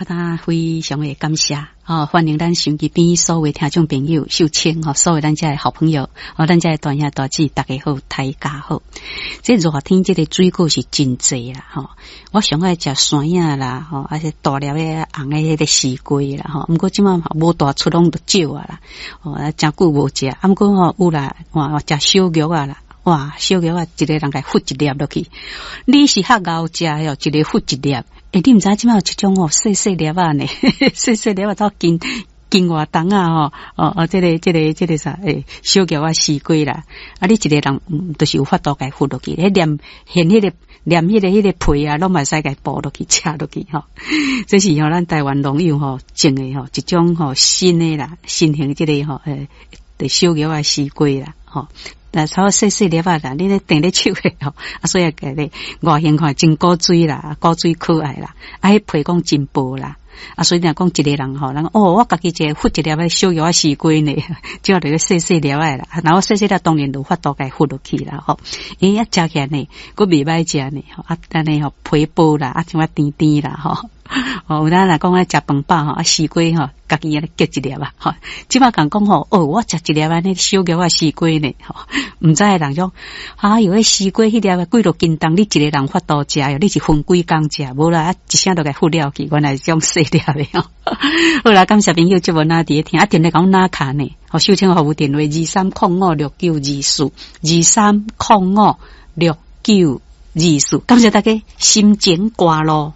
啊，他非常的感謝，哦，歡迎咱收音機邊所有聽眾朋友、秀清吼，所有咱遮的好朋友，哦，咱遮的大兄大姊，大家好，大家好。這熱天這个水果是真濟啦，吼，我上愛食山仔啦，吼，啊是大粒的紅的彼个西瓜啦，吼，毋過這馬無大出攏都少啊啦，哦，誠久無食，啊毋過吼有啦，哇，食小玉仔啦。哇，小玉仔一个人共孵一粒落去，你是較𠢕食的哦，一个孵一粒。欸，你毋知這馬有一種哦，細細粒仔呢，細細粒仔走斤斤外重仔吼，哦哦，這個啥？欸，小玉仔西瓜啦，啊，你一个人就是有法度共孵落去，彼連連彼个連彼個皮啊，攏嘛會使共剝落去食落去吼。這是吼咱台灣農友吼種的吼一種吼新的啦，新型這个吼欸，小玉仔西瓜啦，吼。但超細細粒仔啦，你咧踮咧手的吼，啊，所以共你外形看真古錐啦，古錐可愛啦，啊，彼皮講真薄啦，啊，所以若講一个人吼，人哦，我家己一个孵一粒仔小玉仔西瓜呢，這就是細細粒仔啦，然後細細粒當然有法度共孵落去啦，吼，欸，啊，食起來呢，閣袂歹食呢，吼，啊，按呢吼皮薄啦，啊，像啊甜甜啦，吼。哦，有當若講愛食飯飽吼，啊，西瓜吼，家己按呢結一粒啊，吼，這馬共講吼，哦，我食一粒按呢小玉仔西瓜呢，吼，毋知的人講，哎喲，彼西瓜彼粒幾落斤重，你一个人法度食喲，你是分幾工食，無啦，啊，一聲就共孵了去，原來是這種細粒的吼。好啦，感謝朋友節目哪佇咧聽，啊，電話共阮打卡呢，吼，秀清服務電話23056924，23056924，感謝大家，心情歌路。